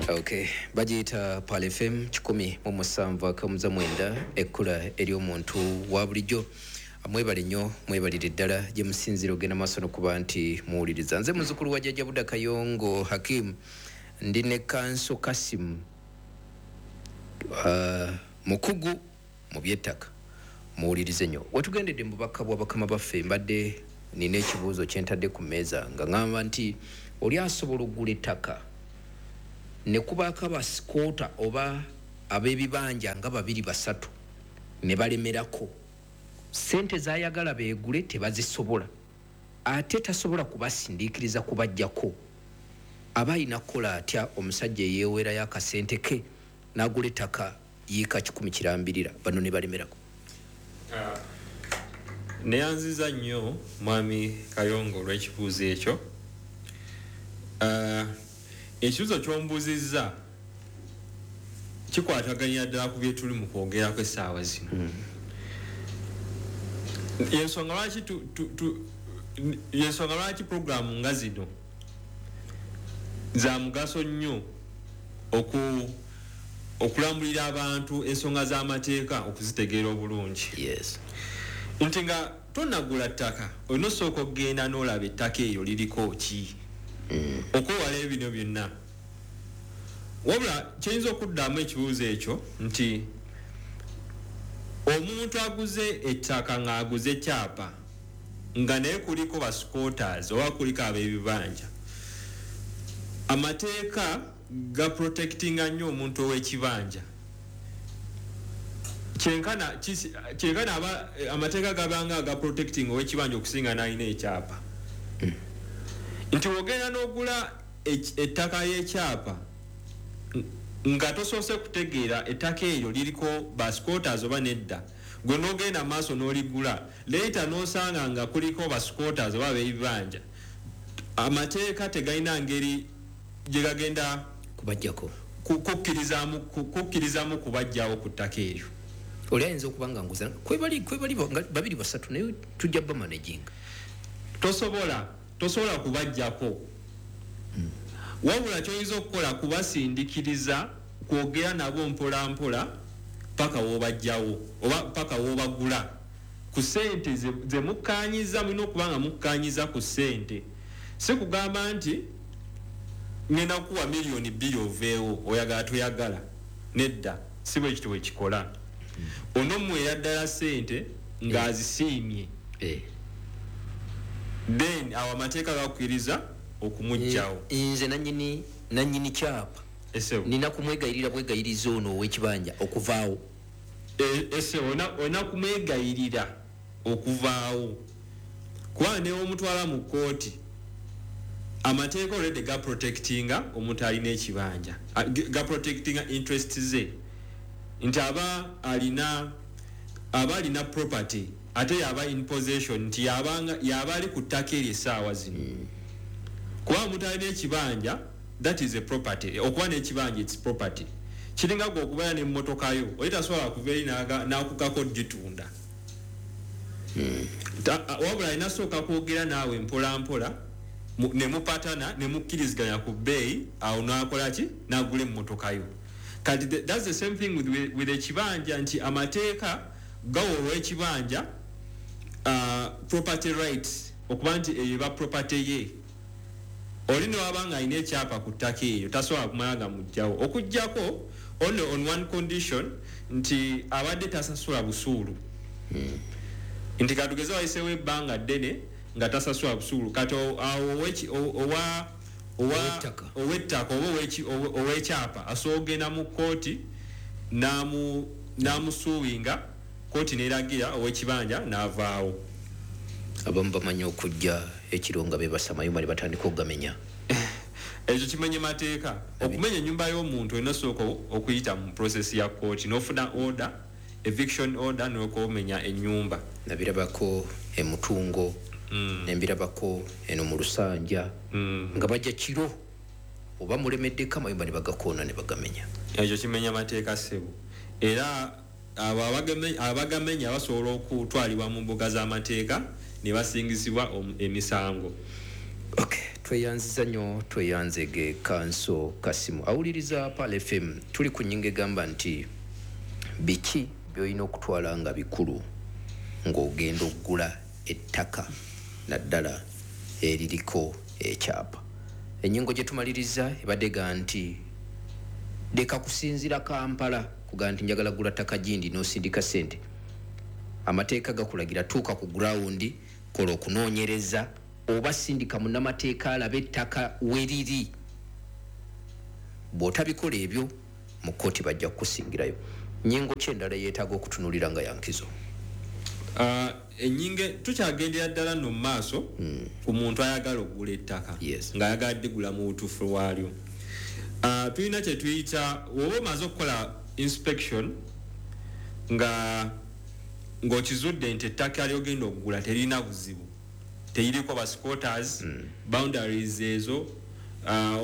Okay, bagiyita Pal FM 107.9, ekkula ery'omuntu wa bulijjo. Mwebale nnyo, mwebalire ddala gye musinzira ogenda maaso nokuba nti muwuliriza. Nze muzukulu wa Jjajja Buda Kayongo Hakimu, ndi ne Kanso Kasimu, mukugu mu byettaka. Muwulirize nnyo. Wetugendedde mu bubaka bwa bakama baffe, mbadde nina ekibuuzo kyentadde ku mmeeza nga ŋŋamba nti oli asobola okugula ettaka ne kubaako abasquatter oba ab'ebibanja nga babiri basatu ne balemerako, sente zayagala beegule tebazisobola, ate tasobola kubasindiikiriza kubajjako. Aba alina kukola atya omusajja eyeewerayo akasente ke n'agula ettaka yiika 100 kirambirira, bano ne balemerako? Neyanziza nnyo, Mwami Kayongo, olw'ekibuuzo ekyo. Ekibuuzo kyombuuzizza kikwataganya ddala ku byetuli mu kwogerako essaawa zino. Yensonga lwaki puroguramu nga zino za mugaso nnyo okulambulira abantu ensonga z'amateeka okuzitegeera obulungi. Nti nga tonagula ttaka, olina osooka okugenda n'olaba ettaka eryo liriko ki, okwewala ebino byonna. Wabula kiyinza okuddamu ekibuuzo ekyo nti omuntu aguze ettaka ng'aguze kyapa nga naye kuliko basquatters oba kuliko ab'ebibanja, amateeka ga protectinga nnyo omuntu ow'ekibanja. Kyenkana aba amateeka gabanga aga protecting ow'ekibanja okusinga n'alina ekyapa. Nti wogenda n'ogula ettaka y'ekyapa nga tosoose kutegeera ettaka eryo liriko basquatters oba nedda, gwe n'ogenda maaso n'oligula, later n'osanga nga kuliko basquatters oba ab'ebibanja, amateeka tegalina ngeri gye gagenda kubajjako. Kukkirizamu kubajjawo ku ttaka eryo. Oli ayinza okuba nga nguza kwebali nga babiri basatu, naye tujja bamanaginga. Tosobola kubajjako. Wabula kyoyinza okukola kubasindikiriza kwogera nabo mpola mpola paka wobajjawo oba paka wobagula ku sente ze mukkanyiza. Mulina okuba nga mukkanyiza ku sente, si kugamba nti ngenda kukuwa 2 miliyoni oveewo, oyagala toyagala. Nedda, si bwe kityo bwekikola. Onomuweera ddala sente ng'azisiimye, then awo amateeka gakkiriza okumugjawo. Nze nanyini kyapa Esebo. nina kumwegayirira bwegayiriza ono ow'ekibanja okuvaawo? Ese olina kumwegayirira okuvaawo, kubanga newomutwala mu kooti, amateeka already gaprotectinga omuntu alina ekibanja, gaprotectinga interest ze, nti aba alina property ate yaba in possession, nti yaba ali ku ttaka eryo essaawa zino. Kuba omuntu alina ekibanja, that is a property. Okuba n'ekibanja, its property. Kiringa gwe okubeera n'emmotoka yo, oli tasobola kuva eri n'akugako gitunda. Wabula alina sooka kwogera naawe mpola mpola, ne mupatana ne mukkiriziganya ku bbeeyi, awo n'akola ki? N'agula emmotoka yo. Kati that's the same thing with ekibanja, nti amateeka gawa olw'ekibanja property rights, okuba nti eyo eba property ye. Oli newaba nga alina ekyapa ku ttaka eryo, tasobola kumala nga mugjawo, okugjako only on one condition, nti abadde tasasula busuulu. Nti katugeze wayiseewo ebbanga ddene nga tasasula busuulu, kati awo owa Ow'ettaka. Ow'ettaka oba ow'ekyapa asobola okugenda mu kooti n'amusuuwinga, kooti n'eragira ow'ekibanja n'avaawo. Abamu bamanyi okujja ekiro nga bebasa amayumba ne batandika okugamenya. Ekyo kimenye mateeka. Okumenya ennyumba y'omuntu, olina osooka okuyita mu process ya kooti n'ofuna order, eviction order, nokomenya ennyumba. Nabirabako emutungo, nembirabako eno mu Lusanja, nga bajja kiro oba mulemeddeko, amayumba ne bagakoona ne bagamenya. Ekyo kimenya mateeka, ssebo, era abo abagamenya basobola okutwalibwa mu mbuga z'amateeka ne basingizibwa emisango. Okay, tweyanziza nnyo, tweyanzege Kanso Kasimu. Awuliriza Pearl FM, tuli ku nnyingo egamba nti biki by'olina okutwala nga bikulu ng'ogenda okugula ettaka naddala eririko ekyapa. Ennyingo gye tumaliriza ebadde ga nti leka kusinziira Kampala kugamba nti njagala gula ttaka gindi n'osindika ssente. Amateeka gakulagira tuuka ku ground, kola okunoonyereza oba sindika munnamateeka alabe ettaka weriri. Bw'otabikola ebyo mu kkooti bajja kukusingirayo. Nnyingo ki endala yeetaaga okutunuulira nga yankizo? Ennyingo tukyagendera ddala nno mu maaso ku muntu ayagala okugula ettaka ng'ayagala ddigula mu butuufu bwalyo. Tulina kye tuyita woba omaze okukola inspection nga ng'okizudde nti ettaka ly'ogenda okugula terina buzibu, teririko ba squatters, boundaries ezo,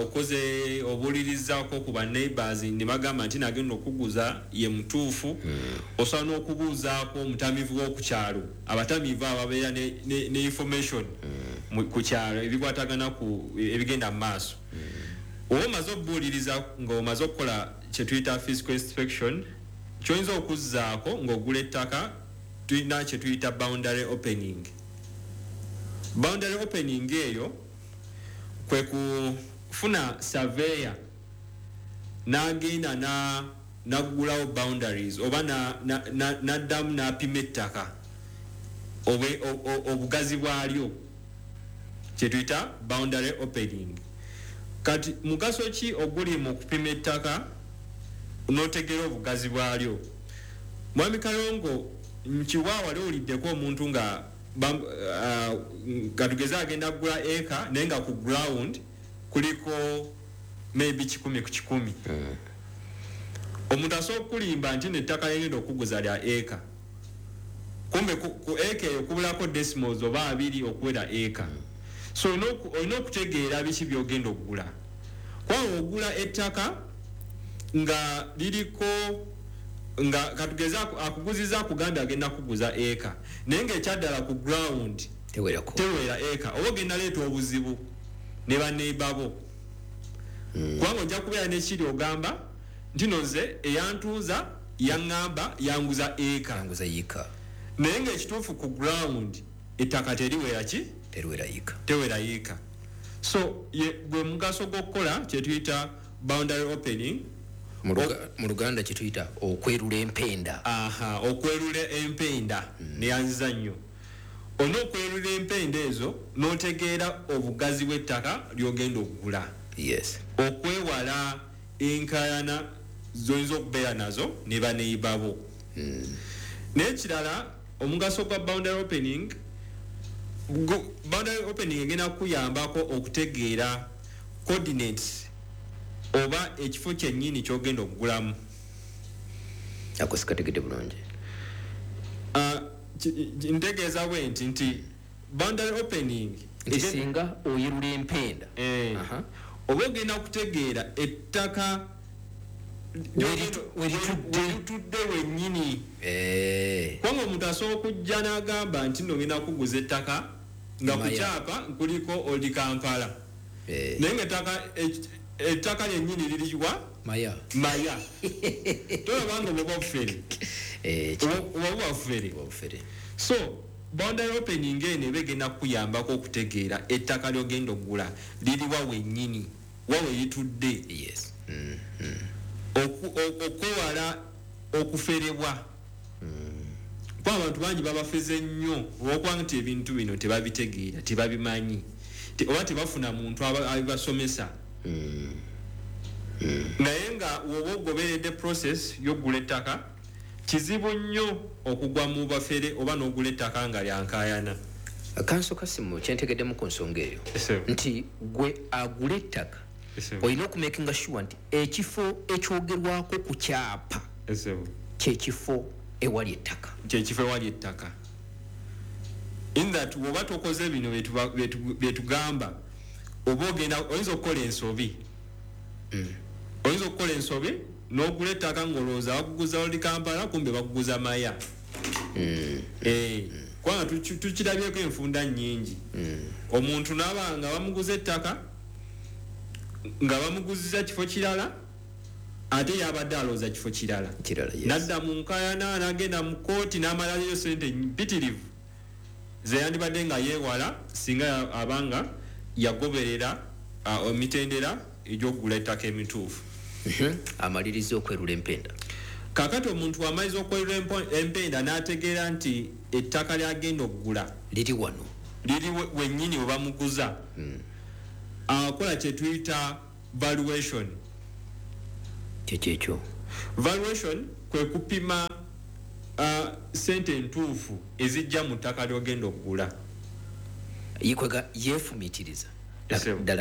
okoze obuulirizaako ku ba neighbors ne bagamba nti nagenda okuguza ye mutuufu. Osobola n'okubuuzaako omutamiivu w'oku kyalo, abatamiivu abo babeera ne information ku kyalo ebikwatagana ku ebigenda mu maaso. Oba omaze okubuuliriza ng'omaze okukola kye tuyita physical inspection, ky'oyinza okuzzaako ng'ogula ettaka tulina kye tuyita boundary opening. Boundary opening eyo kwe kufuna surveyor n'agenda n'aggulawo boundaries oba n'addamu n'apima ettaka obugazi bwalyo, kye tuyita boundary opening. Kati mugaso ki oguli mu kupima ettaka n'otegeera obugazi bwalyo? Mwami Kayongo, nkiwa wali owuliddeko omuntu nga tugeze agenda kugula eka naye nga ku ground kuliko maybe 100 ku 100. Omuntu asobola okulimba nti n'ettaka ly'agenda okuguza lya eka, kumbe ku eka eyo kubulako decimals oba 2 okuwera eka. So olina okutegeera biki by'ogenda okugula. Kubanga ogula ettaka nga liriko nga katugeze akuguziza akugambye agenda kuguza eka, naye ng'ekyaddala ku ground tewera eka, oba ogenda leeta obuzibu ne baneighbor bo. Kubanga ojja kubeera n'ekiri ogamba nti no nze eyantuuza yaŋŋamba yanguza eka, yanguza yiika, naye ng'ekituufu ku ground ettaka teriwera ki? Teriwera yiika, tewera yiika. So gwe mugaso gw'okukola kye tuyita boundary opening. Mu Luganda kye tuyita okwerula empenda. Aha, okwerula empenda neyanziza nnyo. Olina okwerula empenda ezo n'otegeera obugazi bw'ettaka ly'ogenda okugula. Okwewala enkaayana z'oyinza okubeera nazo ne baneighbor bo. N'ekirala, omugaso gwa boundary opening, boundary opening egenda kukuyambako okutegeera coordinates oba ekifo kyennyini ky'ogenda okugulamu. Ako sikategedde bulungi. Ntegeeza bwe nti boundary opening nti singa oyerula empenda, oba ogenda kutegeera ettaka weritudde wennyini. Kubanga omuntu asobola okujja n'agamba nti nno ngenda kuguza ettaka nga ku kyapa kuliko Old Kampala, naye nga ettaka lyennyini liri wa? Maya. Maya. Tolaba nga oba bufere. Oba bufere. So boundary opening eno eba egenda kukuyambako okutegeera ettaka ly'ogenda okugula liri wa wennyini, wa we litudde. Okwewala okuferebwa. Kuba abantu bangi babafeze nnyo olw'okuba nti ebintu bino tebabitegeera, tebabimanyi, oba tebafuna muntu abibasomesa. Naye nga woba ogoberedde process y'okugula ettaka, kizibu nnyo okugwa mu bafere oba n'ogula ettaka nga lyankaayana. Kanso Kasimu, kyentegeddemu ku nsonga eyo nti gwe agula ettaka olina okumakinga sure nti ekifo ekyogerwako ku kyapa kyekifo ewali ettaka, kyekifo ewali ettaka. In that woba tokoze bino byetugamba, oba ogenda oyinza okukola ensobi. Oyinza okukola ensobi n'ogula ettaka ng'olowooza bakuguza Old Kampala, kumbe bakuguza Maya. Kubanga tukirabyeko enfunda nnyingi. Omuntu n'aba nga bamuguza ettaka, nga bamuguziza kifo kirala, ate yabadde alowooza kifo kirala. Kirala, yes. Nadda mu nkayana, n'agenda mu kooti, n'amalayo sente mpitirivu zeyandibadde nga yeewala singa abanga yagoberera emitendera egy'okugula ettaka emituufu. Amaliriza okwerula empenda. Kakati omuntu amaliza okwerula empenda n'ategeera nti ettaka lyagenda okugula liri wano, liri wennyini we bamuguza, akola kye tuyita valuation. Kyekyo? Valuation kwe kupima sente entuufu ezijja mu ttaka ly'ogenda okugula. Yikwega yeefumiitiriza Yes, sir. ddala.